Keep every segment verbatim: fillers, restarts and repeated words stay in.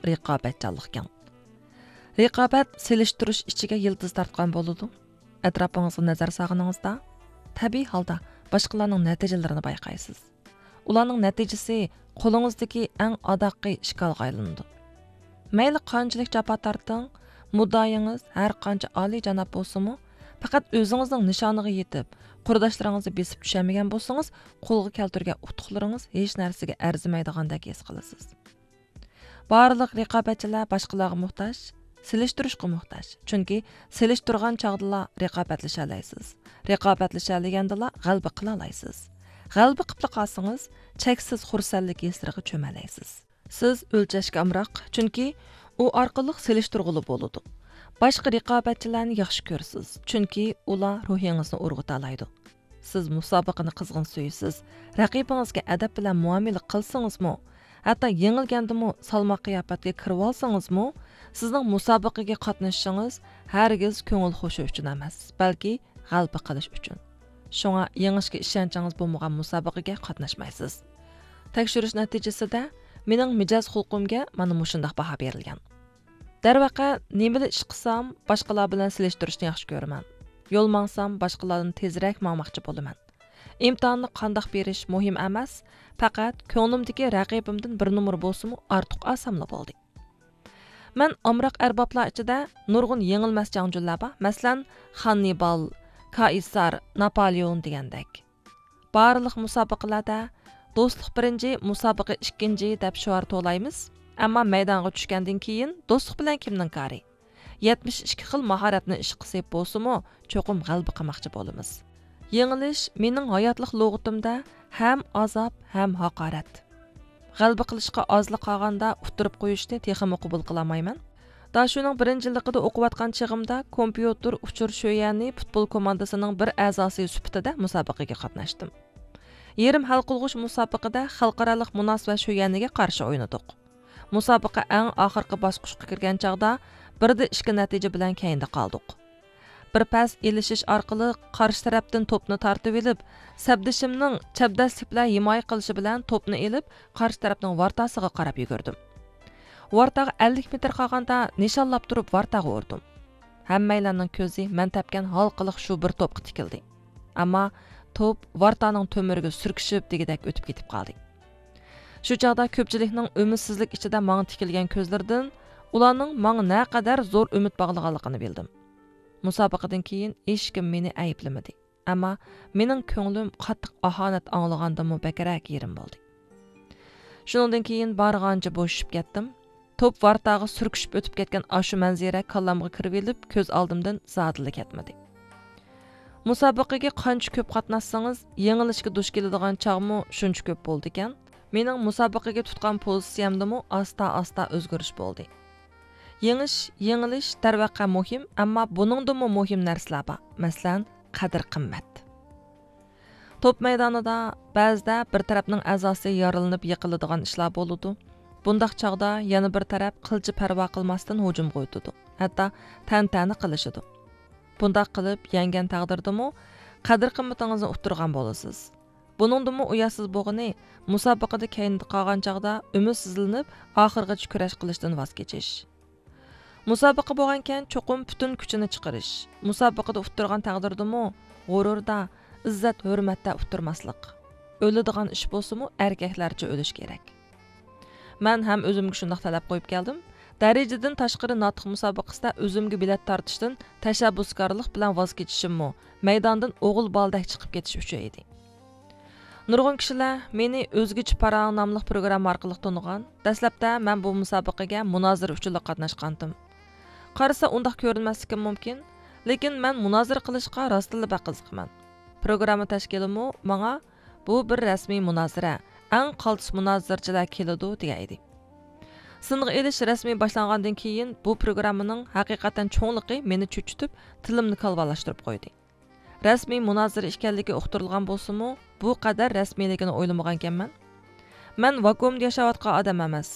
رىقابەتچانلىقكەن. رىقابەت سېلىشتۇرۇش ئىچىگە يىلتىز تارتقان بولىدۇ. ئەتراپىڭىزغا نەزەر سالغىنىڭىزدا، تەبىئىي ھالدا باشقىلارنىڭ نەتىجىلىرىنى بايقايسىز. ئۇلارنىڭ نەتىجىسى قولىڭىزدىكى ئەڭ ئاداققى ئىشكالغا ئايلىنىدۇ. مەيلى قانچىلىك جاپا تارتىڭ، مۇددىئايىڭىز ھەر قانچە ئالىيجاناب بولسىمۇ، پەقەت ئۆزىڭىزنىڭ نىشانىغا يېتىپ، قۇرداشلىرىڭىزنى بېسىپ چۈشەلمىگەن بولسىڭىز، قولغا كەلتۈرگەن ئۇتۇقلىرىڭىز ھېچ نەرسىگە ئەرزىمەيدىغاندەك ھېس قىلىسىز. بارلىق رىقابەتچىلەر باشقىلارغا موھتاج، سېلىشتۇرۇشقا موھتاج. چۈنكى سېلىشتۇرغان چاغدىلا رىقابەتلىشەلەيسىز. رىقابەتلىشەلىگەندىلا غەلىبە قىلالايسىز. غەلىبە قىپلا قالسىڭىز، چەكسىز خۇرسەنلىك ھېسلىرىغا چۆمەلەيسىز. سىز ئۆلچەشكە ئامراق، چۈنكى ئۇ ئارقىلىق سېلىشتۇرغىلى بولىدۇ. باشقا رىقابەتچىلەرنى ياخشى كۆرىسىز، چۈنكى ئۇلار روھىڭىزنى ئۇرغۇتالايدۇ. سىز مۇسابىقىنى قىزغىن سۆيىسىز. رەقىبىڭىزگە ئەدەپ بىلەن مۇئامىلە قىلسىڭىزمۇ، ھەتتا يېڭىلگەندىمۇ سالماق قىياپەتكە كىرىۋالسىڭىزمۇ، سىزنىڭ مۇسابىقىگە قاتنىشىشىڭىز ھەرگىز كۆڭۈل خۇشى ئۈچۈن ئەمەس، بەلكى غەلىبە قىلىش ئۈچۈن. شۇڭا يېڭىشكە ئىشەنچىڭىز بولمىغان مۇسابىقىگە قاتناشمايسىز. تەكشۈرۈش نەتىجىسىدە مېنىڭ مىجەز خۇلقۇمگە مانا مۇشۇنداق باھا بېرىلگەن. دەرۋەقە، نېمىلا ئىش قىلسام، باشقىلار بىلەن سېلىشتۇرۇشنى ياخشى كۆرىمەن. يول ماڭسام، باشقىلاردىن تېزرەك ماڭماقچى بولىمەن. ئىمتىھاننى قانداق بېرىش مۇھىم ئەمەس، پەقەت كۆڭلۈمدىكى رەقىبىمدىن بىر نومۇر بولسىمۇ ئارتۇق ئالساملا بولدى. مەن ئامراق ئەربابلار ئىچىدە نۇرغۇن يېڭىلمەس جەڭچىلەر بار، مەسىلەن، خاننىبال، كائىسار، ناپالېئون دېگەندەك. بارلىق مۇسابىقىلەردە «دوستلۇق بىرىنچى، مۇسابىقە ئىككىنچى» دەپ شوئار توۋلايمىز، ئەمما مەيدانغا چۈشكەندىن كېيىن دوستلۇق بىلەن كىمنىڭ كارى؟ يەتمىش ئىككى خىل ماھارەتنى ئىشقا سېلىپ بولسىمۇ، چوقۇم غەلىبە قىلماقچى بولىمىز. يېڭىلىش مېنىڭ ھاياتلىق لۇغىتىمدە ھەم ئازاب، ھەم ھاقارەت. غەلىبە قىلىشقا ئازلا قالغاندا ئۇتتۇرۇپ قويۇشنى تېخىمۇ قوبۇل قىلالمايمەن. داشۇنىڭ بىرىنچى يىللىقىدا ئوقۇۋاتقان چېغىمدا كومپيۇتېر ئۇچۇر شۆيەنى پۇتبول كوماندىسىنىڭ بىر ئەزاسى سۈپىتىدە مۇسابىقىگە قاتناشتىم. يېرىم ھەل قىلغۇچ مۇسابىقىدە خەلقئارالىق مۇناسىۋەت شۆيەنىگە قارشى ئوينىدۇق. مۇسابىقە ئەڭ ئاخىرقى باسقۇچقا كىرگەن چاغدا بىردە ئىككى نەتىجە بىلەن كەينىدە قالدۇق. بىر پەس ئېلىشىش ئارقىلىق قارشى تەرەپتىن توپنى تارتىۋېلىپ، سەپدىشىمنىڭ چەبدەسلىك بىلەن ھىمايە قىلىشى بىلەن توپنى ئېلىپ، قارشى تەرەپنىڭ ۋارتاسىغا قاراپ يۈگۈردۈم. ۋارتاغا ئەللىك مېتىر قالغاندا نىشانلاپ تۇرۇپ ۋارتاغا ئۇردۇم. ھەممەيلەننىڭ كۆزى مەن تەپكەن ھالقىلىق شۇ بىر توپقا تىكىلدى. ئەمما توپ ۋارتانىڭ تۆمۈرىگە سۈركىشىپ دېگۈدەك ئۆتۈپ كېتىپ قالدى. شۇ چاغدا كۆپچىلىكنىڭ ئۈمىدسىزلىك ئىچىدە ماڭا تىكىلگەن كۆزلىرىدىن ئۇلارنىڭ ماڭا نەقەدەر زور ئۈمىد باغلىغانلىقىنى بىلدىم. مۇسابىقىدىن كېيىن ھېچكىم مېنى ئەيىبلىمىدى. ئەمما مېنىڭ كۆڭلۈم قاتتىق ئاھانەت ئاڭلىغاندىنمۇ بەكرەك يېرىم بولدى. شۇنىڭدىن كېيىن بارغانچە بوشىشىپ كەتتىم. توپ ۋارتاغا سۈركىشىپ ئۆتۈپ كەتكەن ئاشۇ مەنزىرە كاللامغا كىرىۋېلىپ، كۆز ئالدىمدىن زادىلا كەتمىدى. مۇسابىقىگە قانچە كۆپ قاتناشسىڭىز، يېڭىلىشكە دۇچ كېلىدىغان چاغمۇ شۇنچە كۆپ بولىدىكەن. مېنىڭ مۇسابىقىگە تۇتقان پوزىتسىيەمدىمۇ ئاستا-ئاستا ئۆزگىرىش بولدى. يېڭىش، يېڭىلىش دەرۋەقە مۇھىم، ئەمما بۇنىڭدىنمۇ مۇھىم نەرسىلەر بار، مەسىلەن، قەدىر-قىممەت. توپ مەيدانىدا بەزىدە بىر تەرەپنىڭ ئەزاسى يارىلىنىپ يىقىلىدىغان ئىشلار بولىدۇ. بۇنداق چاغدا يەنە بىر تەرەپ قىلچە پەرۋا قىلماستىن ھۇجۇمغا ئۆتىدۇ، ھەتتا تەنتەنە قىلىشىدۇ. بۇنداق قىلىپ يەڭگەن تەقدىردىمۇ قەدىر-قىممىتىڭىزنى ئۇتتۇرغان بولىسىز. بۇنىڭدىنمۇ ئۇياتسىز بولغىنى، مۇسابىقىدە كەينىدە قالغان چاغدا ئۈمىدسىزلىنىپ، ئاخىرغىچە كۈرەش قىلىشتىن ۋاز كېچىش. مۇسابىقە بولغانىكەن، چوقۇم پۈتۈن كۈچىنى چىقىرىش. مۇسابىقىدە ئۇتتۇرغان تەقدىردىمۇ غۇرۇردا، ئىززەت-ھۆرمەتتە ئۇتتۇرماسلىق. ئۆلىدىغان ئىش بولسىمۇ، ئەركەكلەرچە ئۆلۈش كېرەك. مەن ھەم ئۆزۈمگە شۇنداق تەلەپ قويۇپ كەلدىم. دەرىجىدىن تاشقىرى ناتىق مۇسابىقىسىدە ئۆزۈمگە بېلەت تارتىشتىن تەشەببۇسكارلىق بىلەن ۋاز كېچىشىممۇ مەيداندىن ئوغۇل بالىدەك چىقىپ كېتىش ئۈچۈن ئىدى. نۇرغۇن كىشىلەر مېنى ئۆزگىچە پاراڭ ناملىق پروگرامما ئارقىلىق تونۇغان. دەسلەپتە مەن بۇ مۇسابىقىگە مۇنازىرە ئۈچۈنلا قاتناشقانتىم. قارىسا ئۇنداق كۆرۈنمەسلىكىم مۇمكىن، لېكىن مەن مۇنازىرە قىلىشقا راستتىنلا بەك قىزىقىمەن. پروگرامما تەشكىلىمۇ ماڭا «بۇ بىر رەسمىي مۇنازىرە، ئەڭ قالتىس مۇنازىرىچىلەر كېلىدۇ» دېگەن ئىدى. سىنغا ئېلىش رەسمىي باشلانغاندىن كېيىن، بۇ پروگراممىنىڭ ھەقىقەتەن چوڭلۇقى مېنى چۆچۈتۈپ، تىلىمنى كالۋالاشتۇرۇپ قويدى. رەسمىي مۇنازىرە ئىكەنلىكى ئۇقتۇرۇلغان بولسىمۇ، بۇ قەدەر رەسمىيلىكىنى ئويلىمىغانىكەنمەن. مەن ۋاكۇئۇمدا ياشاۋاتقان ئادەم ئەمەس.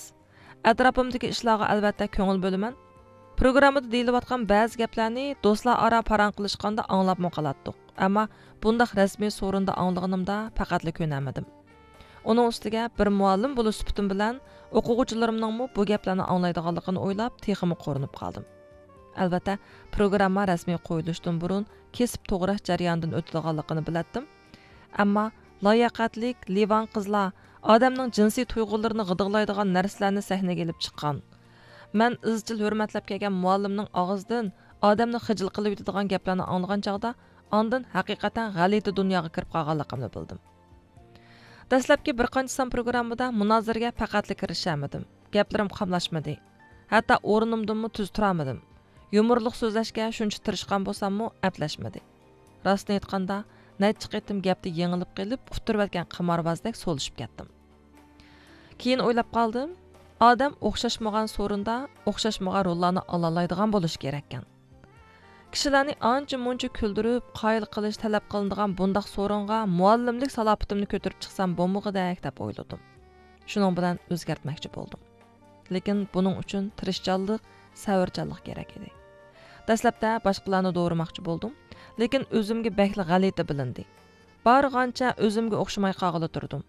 ئەتراپىمدىكى ئىشلارغا ئەلۋەتتە كۆڭۈل بۆلىمەن. پروگراممىدا دېيىلىۋاتقان بەزى گەپلەرنى دوستلار ئارا پاراڭ قىلىشقاندا ئاڭلاپمۇ قالاتتۇق. ئەمما بۇنداق رەسمىي سورۇندا ئاڭلىغىنىمدا پەقەتلا كۆنەلمىدىم. ئۇنىڭ ئۈستىگە بىر مۇئەللىم بولۇش سۈپىتىم بىلەن ئوقۇغۇچىلىرىمنىڭمۇ بۇ گەپلەرنى ئاڭلايدىغانلىقىنى ئويلاپ، تېخىمۇ قورۇنۇپ قالدىم. ئەلۋەتتە، پروگرامما رەسمىي قويۇلۇشتىن بۇرۇن كېسىپ توغراش جەريانىدىن ئۆتىدىغانلىقىنى بىلەتتىم. ئەمما لاياقەتلىك لىۋان قىزلار ئادەمنىڭ جىنسىي تۇيغۇلىرىنى غىدىقلايدىغان نەرسىلەرنى سەھنىگە ئېلىپ چىققان. مەن ئىزچىل ھۆرمەتلەپ كەلگەن مۇئەللىمنىڭ ئاغزىدىن ئادەمنى خىجىل قىلىۋېتىدىغان گەپلەرنى ئاڭلىغان چاغدا، ئاندىن ھەقىقەتەن غەلىتە دۇنياغا كىرىپ قالغانلىقىمنى بىلدىم. دەسلەپكى بىر قانچە سان پروگراممىدا مۇنازىرىگە پەقەتلا كىرىشەلمىدىم. گەپلىرىم قاملاشمىدى. ھەتتا ئورنۇمدىنمۇ تۈز تۇرالمىدىم. يۇمۇرلۇق سۆزلەشكە شۇنچە تىرىشقان بولساممۇ، ئەپلەشمىدى. راستىنى ئېيتقاندا، نەچچە قېتىم گەپتە يېڭىلىپ قېلىپ، ئۇتتۇرۇۋەتكەن قىماربازدەك سولىشىپ كەتتىم. كېيىن ئويلاپ قالدىم، ئادەم ئوخشاشمىغان سورۇندا ئوخشاشمىغان روللارنى ئالالايدىغان بولۇشى كېرەككەن. كىشىلەرنى ئانچە مۇنچە كۈلدۈرۈپ، قايىل قىلىش تەلەپ قىلىنىدىغان بۇنداق سورۇنغا مۇئەللىملىك سالاپىتىمنى كۆتۈرۈپ چىقسام بولمىغۇدەك دەپ ئويلىدىم. شۇنىڭ بىلەن ئۆزگەرتمەكچى بولدۇم. لېكىن بۇنىڭ ئۈچۈن تىرىشچانلىق، سەۋرچانلىق كېرەك ئىدى. دەسلەپتە باشقىلارنى دورىماقچى بولدۇم، لېكىن ئۆزۈمگە بەكلا غەلىتە بىلىندى. بارغانچە ئۆزۈمگە ئوخشىماي قالغىلى تۇردۇم.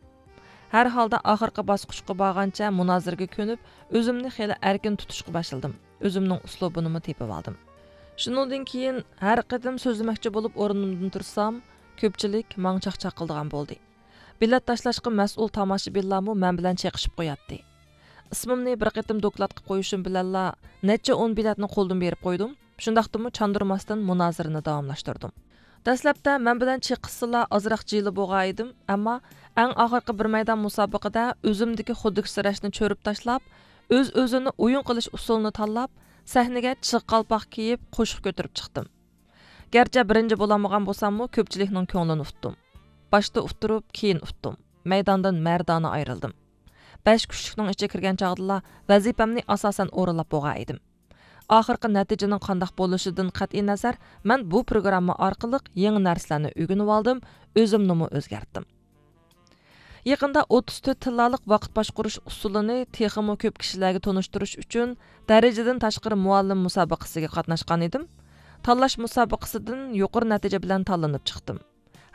ھەر ھالدا ئاخىرقى باسقۇچقا بارغانچە مۇنازىرىگە كۆنۈپ، ئۆزۈمنى خېلى ئەركىن تۇتۇشقا باشلىدىم. ئۆزۈمنىڭ ئۇسلۇبىنىمۇ تېپىۋالدىم. شۇنىڭدىن كېيىن ھەر قېتىم سۆزلىمەكچى بولۇپ ئورنۇمدىن تۇرسام، كۆپچىلىك ماڭا چاقچاق قىلىدىغان بولدى. بېلەت تاشلاشقا مەسئۇل تاماشىبىنلارمۇ مەن بىلەن چېقىشىپ قوياتتى. ئىسمىمنى بىر قېتىم دوكلات قىلىپ قويۇشۇم بىلەنلا، نەچچە ئون بېلەتنى قولدىن بېرىپ قويدۇم. شۇنداقتىمۇ چاندۇرماستىن مۇنازىرىنى داۋاملاشتۇردۇم. دەسلەپتە مەن بىلەن چېقىشسىلا ئازراق جىلە بولغان ئىدىم، ئەمما ئەڭ ئاخىرقى بىر مەيدان مۇسابىقىدە ئۆزۈمدىكى خۇدۈكسىرەشنى چۆرۈپ تاشلاپ، ئۆز-ئۆزىنى ئويۇن قىلىش ئۇسۇلىنى تاللاپ، سەھنىگە چىغ قالپاق كىيىپ، قوشۇق كۆتۈرۈپ چىقتىم. گەرچە بىرىنچى بولالمىغان بولساممۇ، كۆپچىلىكنىڭ كۆڭلىنى ئۇتتۇم. باشتا ئۇتتۇرۇپ، كېيىن ئۇتتۇم. مەيداندىن مەردانە ئايرىلدىم. بەش كۈچلۈكنىڭ ئىچىگە كىرگەن چاغدىلا ۋەزىپەمنى ئاساسەن ئورۇنلاپ بولغان ئىدىم. ئاخىرقى نەتىجىنىڭ قانداق بولۇشىدىن قەتئىينەزەر، مەن بۇ پروگرامما ئارقىلىق يېڭى نەرسىلەرنى ئۆگىنىۋالدىم، ئۆزۈمنىمۇ ئۆزگەرتتىم. يېقىندا ئوتتۇز تۆت تىللالىق ۋاقىت باشقۇرۇش ئۇسۇلىنى تېخىمۇ كۆپ كىشىلەرگە تونۇشتۇرۇش ئۈچۈن، دەرىجىدىن تاشقىرى مۇئەللىم مۇسابىقىسىگە قاتناشقان ئىدىم. تاللاش مۇسابىقىسىدىن يۇقىرى نەتىجە بىلەن تاللىنىپ چىقتىم.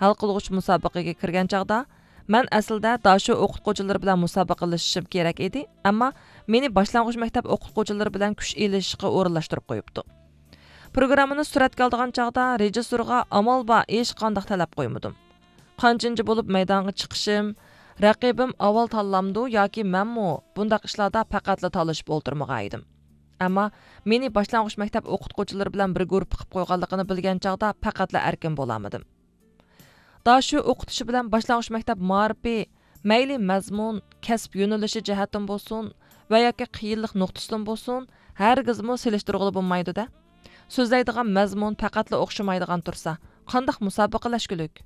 ھەل قىلغۇچ مۇسابىقىگە كىرگەن چاغدا، مەن ئەسلىدە داشۆ ئوقۇتقۇچىلىرى بىلەن مۇسابىقىلىشىشىم كېرەك ئىدى، ئەمما مېنى باشلانغۇچ مەكتەپ ئوقۇتقۇچىلىرى بىلەن كۈچ ئېلىشىشقا ئورۇنلاشتۇرۇپ قويۇپتۇ. پروگراممىنى سۈرەتكە ئالىدىغان چاغدا رېژىسسورغا ئامال بار ھېچقانداق تەلەپ قويمىدىم. قانچىنچى بولۇپ مەيدانغا چىقىشىم، رەقىبىم ئاۋۋال تاللامدۇ ياكى مەنمۇ، بۇنداق ئىشلاردا پەقەتلا تالىشىپ ئولتۇرمىغان ئىدىم. ئەمما مېنى باشلانغۇچ مەكتەپ ئوقۇتقۇچىلىرى بىلەن بىر گۇرۇپپا قىلىپ قويغانلىقىنى بىلگەن چاغدا پەقەتلا ئەركىن بولالمىدىم. داشۆ ئوقۇتۇشى بىلەن باشلانغۇچ مەكتەپ مائارىپى، مەيلى مەزمۇن، كەسىپ يۆنىلىشى جەھەتتىن بولسۇن ۋە ياكى قىيىنلىق نۇقتىسىدىن بولسۇن، ھەرگىزمۇ سېلىشتۇرغىلى بولمايدۇ-دە. سۆزلەيدىغان مەزمۇن پەقەتلا ئوخشىمايدىغان تۇرسا، قانداق مۇسابىقىلەشكۈلۈك؟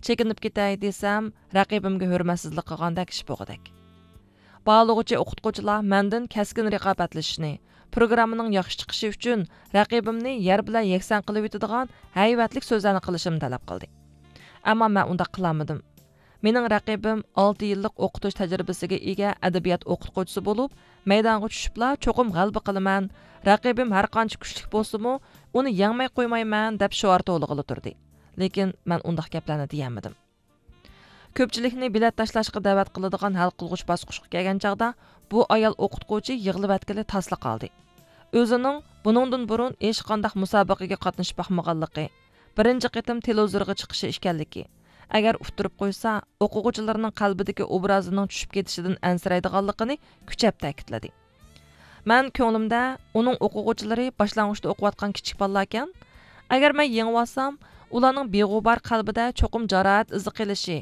چېكىنىپ كېتەي دېسەم، رەقىبىمگە ھۆرمەتسىزلىك قىلغاندەك ئىش بولغۇدەك. باھالىغۇچى ئوقۇتقۇچىلار مەندىن كەسكىن رىقابەتلىشىشنى، پروگراممىنىڭ ياخشى چىقىشى ئۈچۈن رەقىبىمنى يەر بىلەن يەكسان قىلىۋېتىدىغان ھەيۋەتلىك سۆزلەرنى قىلىشىمنى تەلەپ قىلدى. ئەمما مەن ئۇنداق قىلالمىدىم. مېنىڭ رەقىبىم ئالتە يىللىق ئوقۇتۇش تەجرىبىسىگە ئىگە ئەدەبىيات ئوقۇتقۇچىسى بولۇپ، مەيدانغا چۈشۈپلا چوقۇم غەلىبە قىلىمەن، رەقىبىم ھەرقانچە كۈچلۈك بولسىمۇ، ئۇنى يەڭمەي قويمايمەن دەپ شوئار توۋلىغىلى تۇردى. لېكىن مەن ئۇنداق گەپلەرنى دېيەلمىدىم. كۆپچىلىكنى بېلەت تاشلاشقا دەۋەت قىلىدىغان ھەل قىلغۇچ باسقۇچقا كەلگەن چاغدا، بۇ ئايال ئوقۇتقۇچى يىغلىۋەتكىلى تاسلا قالدى. ئۆزىنىڭ بۇنىڭدىن بۇرۇن ھېچقانداق مۇسابىقىگە قاتنىشىپ باقمىغانلىقى، بىرىنچى قېتىم تېلېۋىزورغا چىقىشى ئىكەنلىكى، ئەگەر ئۇتتۇرۇپ قويسا، ئوقۇغۇچىلىرىنىڭ قەلبىدىكى ئوبرازىنىڭ چۈشۈپ كېتىشىدىن ئەنسىرەيدىغانلىقىنى كۈچەپ تەكىتلىدى. مەن كۆڭلۈمدە، ئۇنىڭ ئوقۇغۇچىلىرى باشلانغۇچتا ئوقۇۋاتقان كىچىك بالىلاركەن، ئەگەر مەن يېڭىۋالسام، ئۇلارنىڭ بىغۇبار قەلبىدە چوقۇم جاراھەت ئىزى قېلىشى،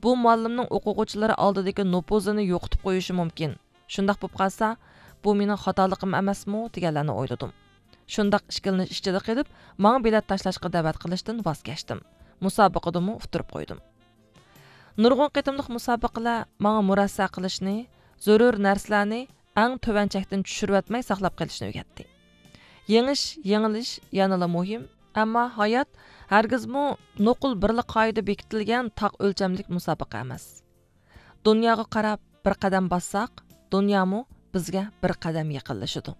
بۇ مۇئەللىمنىڭ ئوقۇغۇچىلىرى ئالدىدىكى نوپۇزىنى يوقىتىپ قويۇشى مۇمكىن. شۇنداق بولۇپ قالسا، بۇ مېنىڭ خاتالىقىم ئەمەسمۇ دېگەنلەرنى ئويلىدىم. شۇنداق ئىككىلىنىش ئىچىدە قېلىپ، ماڭا بېلەت تاشلاشقا دەۋەت قىلىشتىن ۋاز كەچتىم. مۇسابىقىدىمۇ ئۇتتۇرۇپ قويدۇم. نۇرغۇن قېتىملىق مۇسابىقىلەر ماڭا مۇرەسسە قىلىشنى، زۆرۈر نەرسىلەرنى ئەڭ تۆۋەن چەكتىن چۈشۈرۈۋەتمەي ساقلاپ قېلىشنى ئۆگەتتى. يېڭىش، يېڭىلىش يەنىلا مۇھىم، ئەمما ھايات ھەرگىزمۇ نوقۇل بىرلا قائىدە بېكىتىلگەن تاق ئۆلچەملىك مۇسابىقە ئەمەس. دۇنياغا قاراپ بىر قەدەم باسساق، دۇنيامۇ بىزگە بىر قەدەم يېقىنلىشىدۇ.